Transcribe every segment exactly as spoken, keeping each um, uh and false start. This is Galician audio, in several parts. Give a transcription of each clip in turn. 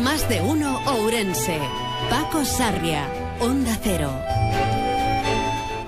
Más de uno Ourense. Paco Sarria, Onda Cero.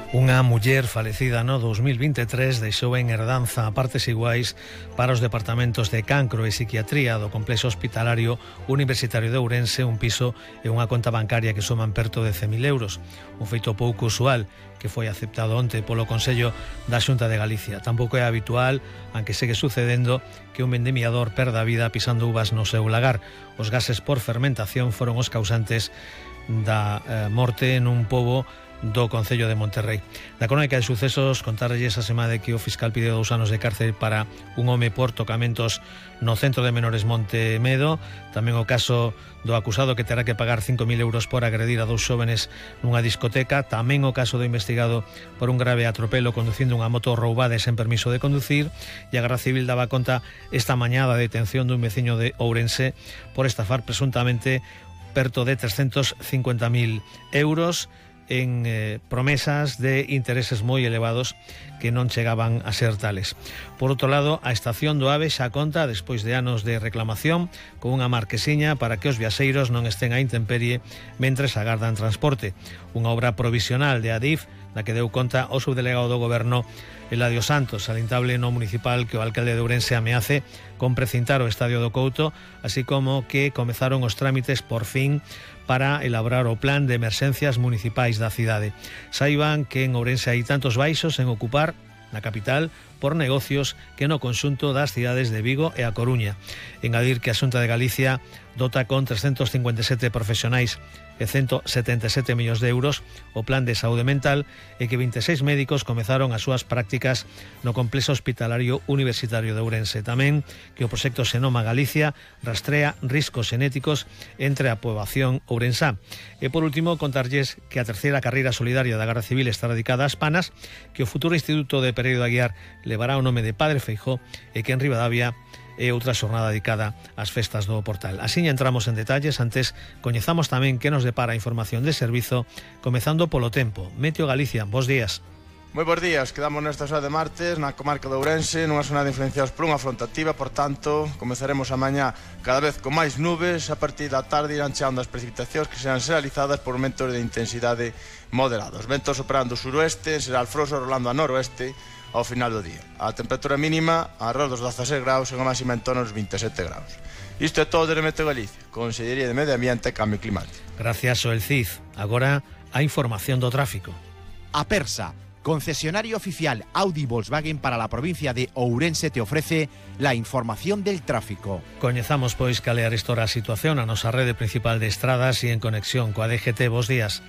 Unha muller falecida no dos mil veintitrés deixou en herdanza a partes iguais para os departamentos de cancro e psiquiatría do complexo hospitalario universitario de Ourense un piso e unha conta bancaria que suman perto de cen mil euros. Un feito pouco usual que foi aceptado onte polo Consello da Xunta de Galicia. Tampouco é habitual, aunque segue sucedendo, que un vendimiador perda a vida pisando uvas no seu lagar. Os gases por fermentación foron os causantes da eh, morte nun pobo do Concello de Monterrey. Na crónica de sucesos contarlles a semana de que o fiscal pide dous anos de cárcel para un home por tocamentos no centro de menores Montemedo. Tamén o caso do acusado que terá que pagar cinco mil euros por agredir a dous xóvenes nunha discoteca. Tamén o caso do investigado por un grave atropelo conducindo unha moto roubada e sen permiso de conducir. E a Garda Civil daba conta esta mañá da detención dun veciño de Ourense por estafar presuntamente perto de trescentos cincuenta mil euros en eh, promesas de intereses moi elevados que non chegaban a ser tales. Por outro lado, a estación do AVE xa conta, despois de anos de reclamación, con unha marquesiña para que os viaxeiros non estén á intemperie mentres agardan transporte. Unha obra provisional de Adif, na que deu conta o subdelegado do Goberno Eladio Santos, salientable no municipal que o alcalde de Ourense ameace con precintar o Estadio do Couto, así como que comezaron os trámites por fin para elaborar o plan de emerxencias municipais da cidade. Saiban que en Ourense hai tantos baixos en ocupar na capital por negocios que no conxunto das cidades de Vigo e A Coruña. Engadir que a Xunta de Galicia dota con trescentos cincuenta e sete profesionais e ciento setenta e sete millóns de euros o plan de saúde mental e que veintiséis médicos comezaron as súas prácticas no complexo hospitalario universitario de Ourense. Tamén que o proxecto Xenoma Galicia rastrea riscos xenéticos entre a poboación ourensá. E por último, contarlles que a terceira carreira solidaria da Garda Civil está dedicada ás panas, que o futuro Instituto de Pereiro de Aguiar levará o nome de Padre Feijóo e que en Ribadavia e outra xornada dedicada ás festas do Portal. Así entramos en detalles, antes coñezamos tamén que nos depara a información de servizo, comezando polo tempo. Meteo Galicia, bos días. Moi bons días, quedamos nesta xornada de martes na comarca de Ourense, nunha xornada influenciados por unha fronte activa, por tanto, comezaremos a mañá cada vez con máis nubes, a partir da tarde irán cheando as precipitacións que serán realizadas por momentos de intensidade moderados. Ventos operando suroeste, será alfroso rolando a noroeste ao final do día. A temperatura mínima arredor dos dezaseis graus e a máxima en torno aos vinte e sete graus. Isto é todo de Meteo Galicia, Consellería de Medio Ambiente e Cambio Climático. Gracias, Xoel Cid. Agora a información do tráfico. Apersa, concesionario oficial Audi Volkswagen para la provincia de Ourense, te ofrece la información del tráfico. Coñezamos pois cal é a arestora a situación a nosa rede principal de estradas e en conexión coa D G T. Bos días.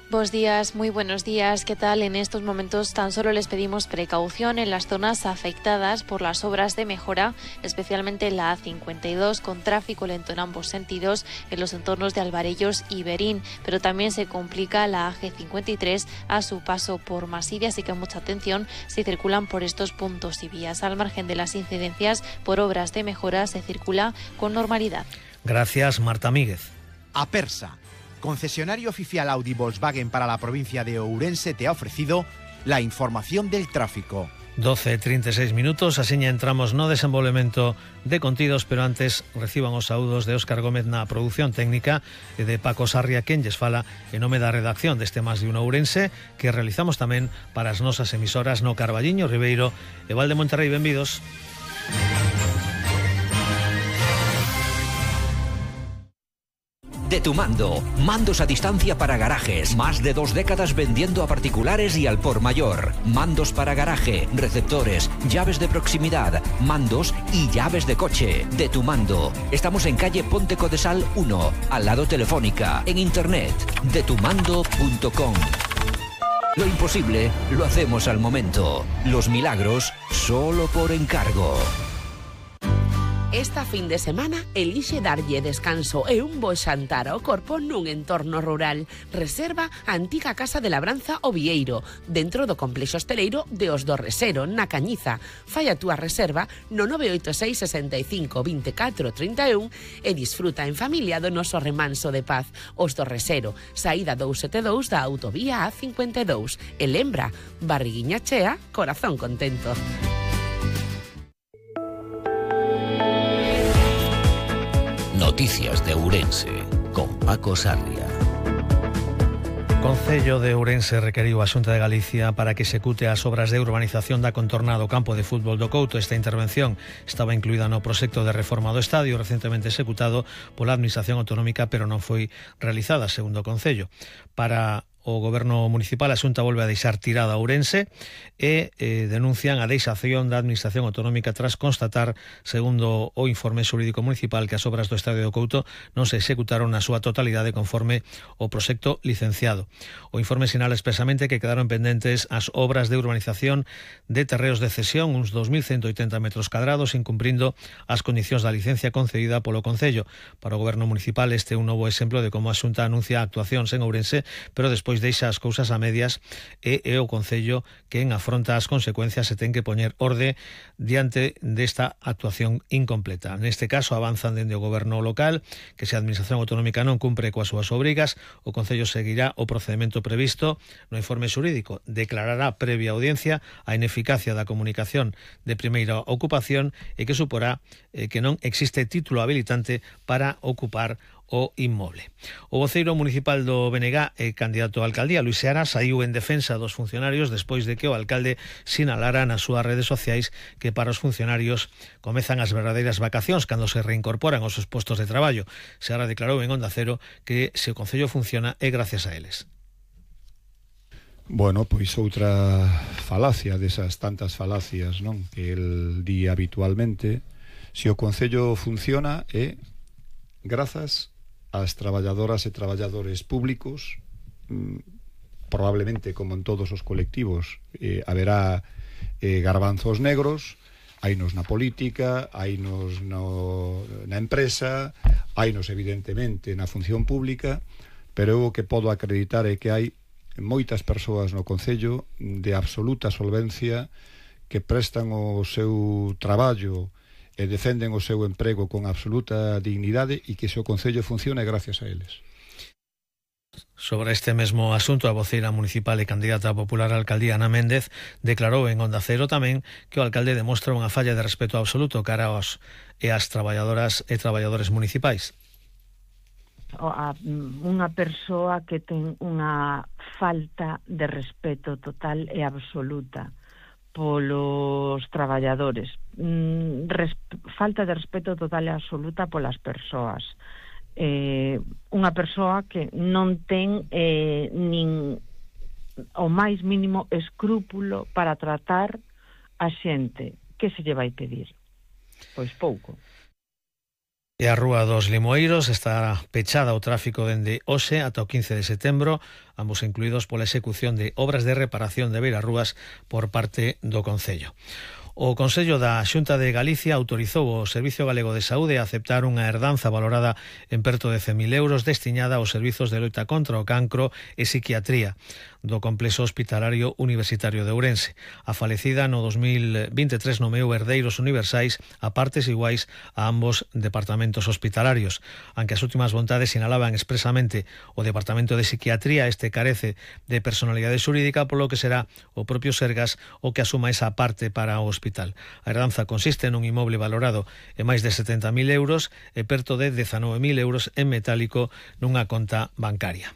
Bos días, muy buenos días. ¿Qué tal? En estos momentos tan solo les pedimos precaución en las zonas afectadas por las obras de mejora, especialmente la A cincuenta y dos, con tráfico lento en ambos sentidos en los entornos de Alvarellos y Berín, pero también se complica la A G cincuenta y tres a su paso por Maside, así que mucha atención si circulan por estos puntos y vías. Al margen de las incidencias por obras de mejora, se circula con normalidad. Gracias, Marta Míguez. Apersa, concesionario oficial Audi Volkswagen para la provincia de Ourense, te ha ofrecido la información del tráfico. doce e trinta e seis minutos, asiña entramos no desenvolvemento de contidos, pero antes reciban os saúdos de Óscar Gómez na produción técnica e de Paco Sarria, quen lles fala en nome da redacción deste Más de Uno Ourense, que realizamos tamén para as nosas emisoras no Carballiño, Ribeiro e Val de Monterrey. Benvidos. De Tu Mando, mandos a distancia para garajes, más de dos décadas vendiendo a particulares y al por mayor. Mandos para garaje, receptores, llaves de proximidad, mandos y llaves de coche. De Tu Mando. Estamos en calle Ponte Codesal uno, al lado Telefónica, en internet, de tu mando punto com. Lo imposible lo hacemos al momento. Los milagros solo por encargo. Esta fin de semana elixe darlle descanso e un bo xantar ao corpo nun entorno rural. Reserva a antiga Casa de Labranza O Vieiro, dentro do complexo hosteleiro de Os do Resero, na Cañiza. Fai a túa reserva no nove oito seis, sesenta e cinco, veinticuatro, treinta e un e disfruta en familia do noso remanso de paz. Os do Resero, saída doscientos setenta e dous da autovía A cincuenta e dous. E lembra, barriguiña chea, corazón contento. Noticias de Ourense, con Paco Sarria. Concello de Ourense requeriu a Xunta de Galicia para que execute as obras de urbanización da contorna do campo de fútbol do Couto. Esta intervención estaba incluída no proxecto de reforma do estadio recentemente executado pola Administración Autonómica, pero non foi realizada, segundo o Concello. Para o Goberno Municipal, a Xunta volve a deixar tirada a Ourense e eh, denuncian a deixación da Administración Autonómica tras constatar, segundo o informe xurídico municipal, que as obras do Estadio do Couto non se executaron na súa totalidade conforme o proxecto licenciado. O informe sinala expresamente que quedaron pendentes as obras de urbanización de terreos de cesión, uns dos mil ciento oitenta metros cadrados, incumprindo as condicións da licencia concedida polo Concello. Para o Goberno Municipal este é un novo exemplo de como a Xunta anuncia actuacións en Ourense, pero despois deixa as cousas a medias e é o Concello quen afronta as consecuencias e ten que poñer orde diante desta actuación incompleta. Neste caso avanzan dende o Goberno local que se a Administración Autonómica non cumpre coas súas obrigas, o Concello seguirá o procedimento previsto no informe xurídico, declarará previa audiencia a ineficacia da comunicación de primeira ocupación e que suporá eh, que non existe título habilitante para ocupar o inmoble. O voceiro municipal do B N G e candidato a alcaldía, Luis Seara, saiu en defensa dos funcionarios despois de que o alcalde sinalara nas súas redes sociais que para os funcionarios comezan as verdadeiras vacacións cando se reincorporan aos seus postos de traballo. Seara declarou en Onda Cero que se o Concello funciona é gracias a eles. Bueno, pois outra falacia desas tantas falacias, non, que el di habitualmente. Se o Concello funciona é grazas as traballadoras e traballadores públicos, probablemente como en todos os colectivos eh, haberá eh, garbanzos negros, hainos na política, hainos no, na empresa, hainos evidentemente na función pública, pero o que podo acreditar é que hai moitas persoas no Concello de absoluta solvencia que prestan o seu traballo e defenden o seu emprego con absoluta dignidade e que se o Concello funcione gracias a eles. Sobre este mesmo asunto, a voceira municipal e candidata popular á alcaldía, Ana Méndez, declarou en Onda Cero tamén que o alcalde demostra unha falla de respeto absoluto cara aos e as traballadoras e traballadores municipais. A, unha persoa que ten unha falta de respeto total e absoluta polos traballadores, mm, res, falta de respeto total e absoluta polas persoas, eh, unha persoa que non ten eh, nin o máis mínimo escrúpulo para tratar a xente. Que se lle vai pedir? Pois pouco. E a Rúa dos Limoeiros está pechada ao tráfico dende hoxe ata o quince de setembro, ambos incluídos pola execución de obras de reparación de beirarrúas por parte do Concello. O Consello da Xunta de Galicia autorizou o Servicio Galego de Saúde a aceptar unha herdanza valorada en perto de cen mil euros destinada aos servizos de loita contra o cancro e psiquiatría do complexo hospitalario universitario de Ourense. A falecida no dos mil vinte e tres nomeou herdeiros universais a partes iguais a ambos departamentos hospitalarios. Aunque as últimas vontades sinalaban expresamente o Departamento de Psiquiatría, este carece de personalidade xurídica, polo que será o propio Sergas o que asuma esa parte para o hospital. A herdanza consiste nun inmoble valorado en máis de setenta mil euros e perto de dezanove mil euros en metálico nunha conta bancaria.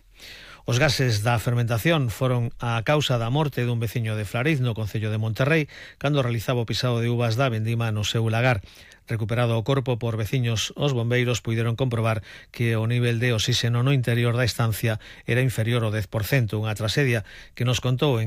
Os gases da fermentación foron a causa da morte dun veciño de Flariz, no concello de Monterrey, cando realizaba o pisado de uvas da vendima no seu lagar. Recuperado o corpo por veciños, os bombeiros puideron comprobar que o nivel de oxígeno no interior da estancia era inferior ao dez por cento, unha traxedia que nos contou en